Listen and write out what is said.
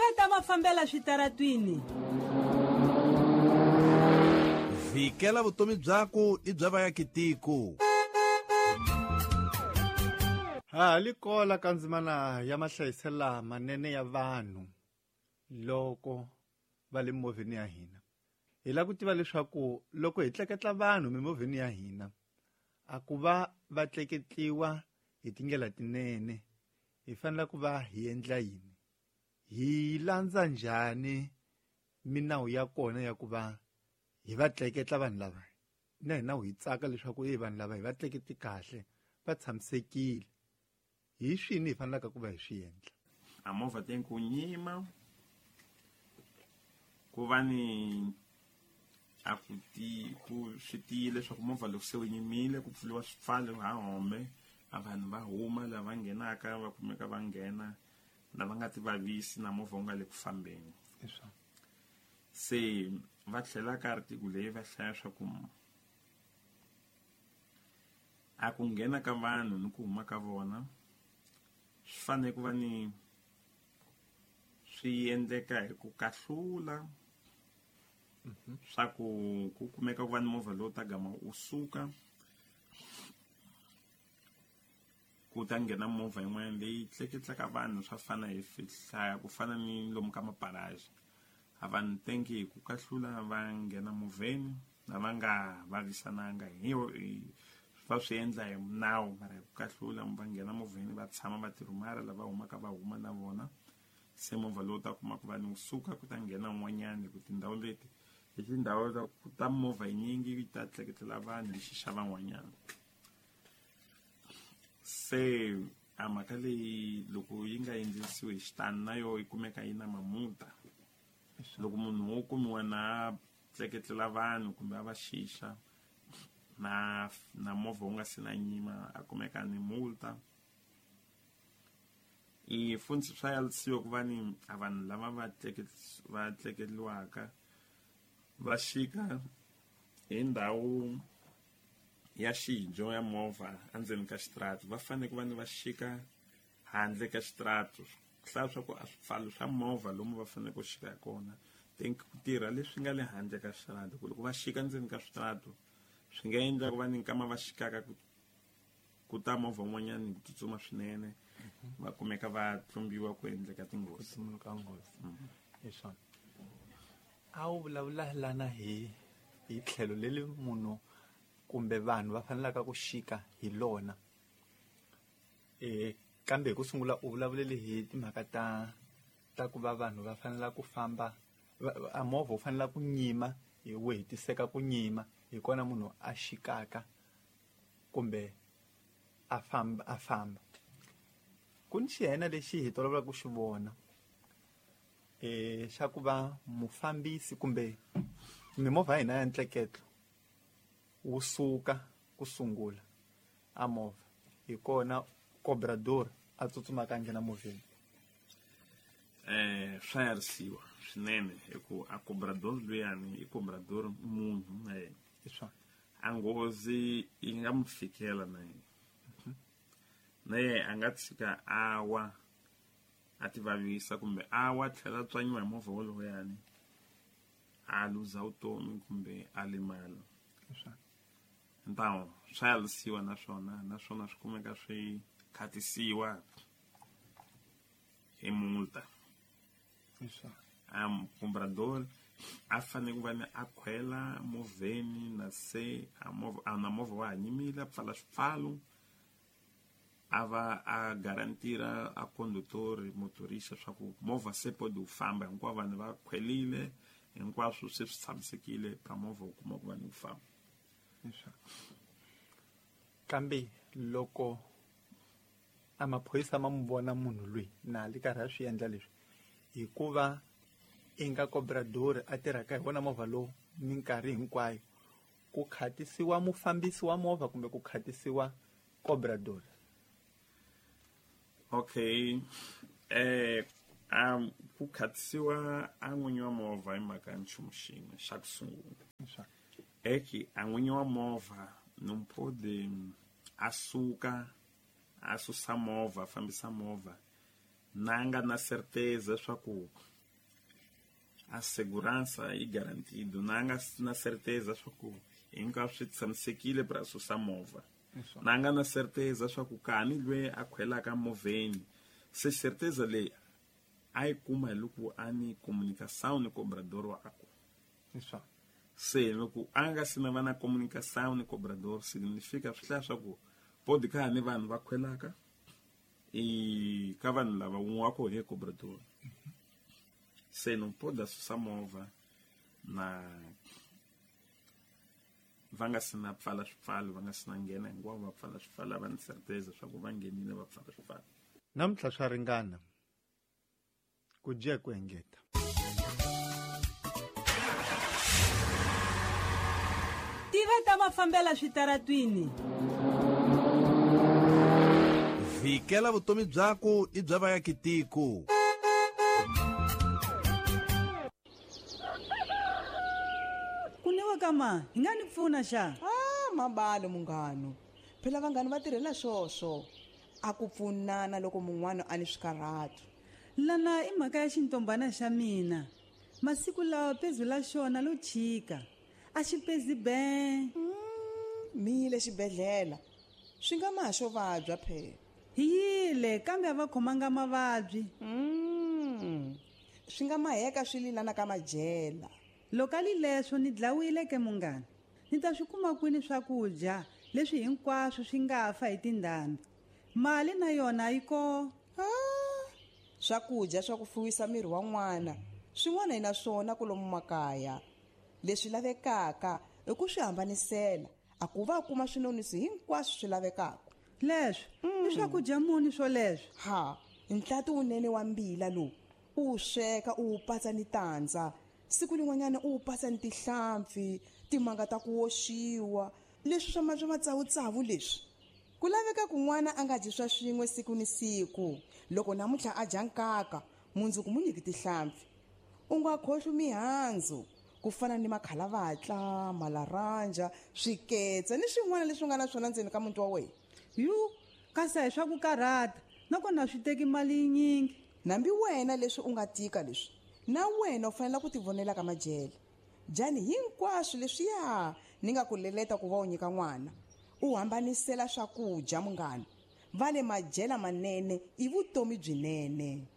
Vukheta mafambela switaratwini. Vhikela vutomi byaku ni bya vaakitiko. Ha li kola ka ndzimana ya mahlayiselo lamanene ya vanhu loko va le mimovheni ya hina. Hi lava ku tiva leswaku loko hi tleketla vanhu mimovheni ya hina, a ku va va tleketliwa hi tindlela tinene, hi fanele ku va hi endla yini? Hi landza njhani minawu ya kona ya ku va hi va tleketla vanhu lava? Na hina hi tsaka leswaku vanhu lava hi va tleketli kahle, va tshamisekile. Hi swini hi fanelaka ku va hi swi endla? A movha tem ku nyima, ku va ni a ku ti ku swi tiyile leswaku movha loko se wu yimile ku pfuriwa swipfalo ha home, a vanhu va huma lava nghenaka va kumeka va nghena, lava nga ti vavisi na movha wu nga le ku fambeni. Se va tlhela ka article leyi va hlaya swa ku a ku nghena ka vanhu ni ku huma ka vona swi fanele ku va ni swi endleka hi ku kahlula, swa ku ku kumeka ku va ni movha lowu ta gama wu suka ku ta nghena movha yin'wana leyi tleketlaka vanhu swa fana hi hlaya ku fana ni lomu ka maparaji. A vanhu tenki hi ku kahlula va nghena movheni na va nga vavisananga hi va swi endla hi nawu, mara hi ku kahlula va nghena movheni va tshama va tirhumara lava humaka va huma na vona. Se movha lowu ta kuma ku va ni suka ku ta nghena un'wanyana hi ku tindhawu leti hi tindhawu ta ku ta movha yinyingi yi ta tleketlela vanhu hi xixa van'wanyana. Se a mhaka leyi loko yi nga endlisiwi hi xitani na yo yi kumeka yi na mamuta. Loko munhu wo kumiwa na tleketlela vanhu kumbe a va xixa na movha wu nga se na nyima a kumeka ni multa. I funtsi swa yalisiwa ku va ni a vanhu lava va va tleketliwaka va xika hi ndhawu ya xijo ya movha endzeni ka xitarata, va fanele ku va ni va xika handle ka xitarata. Hlaya swa ku a swipfalo swa movha lomu va fanele ku xika hi kona, think ku tirha leswi nga le handle ka xitarata, ku loko va xika ndzeni ka switarata swi nga endla ku va ni nkama va xikaka ku ta movha wun'wanyana hi ku tsutsuma swinene, va kumeka va tlumbiwa ku endleka tinghozi. Ku tumuluka nghozi. Hi swona. A wu vulavula lana hi tlhelo leri munhu kumbe vanhu va fanelaka ku xika hi lona. Kambe hi ku sungula u vulavulele hi timhaka ta ku va vanhu va fanela ku famba, a movha wu fanela ku nyima, hi wu hetiseka ku nyima, hi kona munhu a xikaka kumbe a famba, a famba. Ku ni xihena lexi hi tolovelaka ku xi vona, xa ku va mufambisi kumbe mimovha ya hina ya ntleketlo wu suka ku sungula a movha, hi kona cobrador a tsutsumaka a nghena movheni. Swa yarisiwa swinene hi ku a cobrador luyani i cobrador munhu na yena. Hi swona. A nghozi yi nga mu fikela na yena. Na yena a nga tshika a wa a ti vavisa kumbe a wa tlhela a tswanyiwa hi movha wolowuyani a luza vutomi kumbe a limala. Hi swona. Ntawo swa yarisiwa naswona, naswona swi kumeka swi khatisiwa hi multa. Hi swona. Cobrador a fanele ku va ni a khwela movheni na se a movha, a na movha wa ha nyimile, a pfala swipfalo, a va a garantira a conductor motorista swa ku movha se podi wu famba, hinkwavo vanhu va khwelile, hinkwaswo se swi tshamisekile ka movha wu kuma ku va ni wu famba. Hi swona. Kambe loko a maphorisa ma n'wi vona munhu loyi na li karhi a swi endla leswi, hikuva i nga cobrador a tirhaka hi wona movha lowu minkarhi hinkwayo, ku khatisiwa mufambisi wa movha kumbe ku khatisiwa cobrador? Okay. Ku khatisiwa a n'winyi wa movha hi mhaka ya nchumu xin'we xa ku sungula. Hi swona. Eki a n'winyi wa movha nomphodi a suka a susa movha, a fambisa movha na nga na certeza swa ku A segurança yi garantido na nga na certeza swa ku hinkwaswo swi tshamisekile para susa movha. Na nga na certeza swa ku kani lwe a khwelaka movheni se certeza leyi a yi kuma hi loko a ni comunicação ni cobrador wakwe. Se loko a nga si na va na comunicação ni cobrador significa swi hlaya swa ku pode ka ni vanhu va khwelaka e ka vanhu lava un'we wa koho hi cobrador. Se não pode susa movha na va nga si na pfala swipfalo, va nga si na nghena hinkwavo va pfala swipfalo, va ni certeza swa ku va nghenile va pfala swipfalo. Namuntlha swa ringana ku dya ku engeta. Tiva ta mafambela switaratwini. Vikela vutomi byaku i bya vayakitiko. Kunewa kama hi nga ni pfuna xa? Ah, mabalo munghano. Phela vanghani va tirhela swoswo. A ku pfunana loko mun'wana a ni swikarhato. Lana i mhaka ya xintombana xa mina. Masiku lawa pezu la xona lo chika. A xi pezi ben. Mile xibedhlele. Swi nga ma xo vabya phela. Hi yile kambe a va khomanga mavabyi. Swi nga maheka swi lilana ka majela. Loko a li leswo ni dlawile ke munghana. Ni ta swi kuma kwini swakudya leswi hinkwaswo swi nga fa hi tindhambi. Mali na yona yi ko. Swakudya swa ku fuwisa miri wa n'wana swin'wana hi na swona kwalomu makaya. Leswi lavekaka i ku swi hambanisela a ku va kuma swinonisi hinkwaswo swi lavekaka. Leswi i swakudya muni swoleswo? Ha, ntlati wunene wa mbila lowu u wu sweka u wu patsa ni tandza. Siku lin'wanyana u wu patsa ni tihlampfi, timanga ta ku oxiwa, leswi swa matsavutsavu leswi. Ku laveka kun'wana a nga dyi swa swin'we siku ni siku. Loko namuntlha a dya nkaka, mundzuku mu nyiki tihlampfi. U nga khohlwi mihandzu ku fana ni makhalavatla, malaranja, swiketsa ni swin'wana leswi nga na swona ndzeni ka muti wa wena. Yu, kasi a hi swa ku karhata, nakona swi teki mali yinyingi. Nambi wena leswi u nga tika leswi, na wena u fanele ku tivonela ka majele. Dyani hinkwaswo leswiya ni nga ku leleta ku va u nyika n'wana. U hambanisela swakudya munghana. Va le majela manene i vutomi byinene.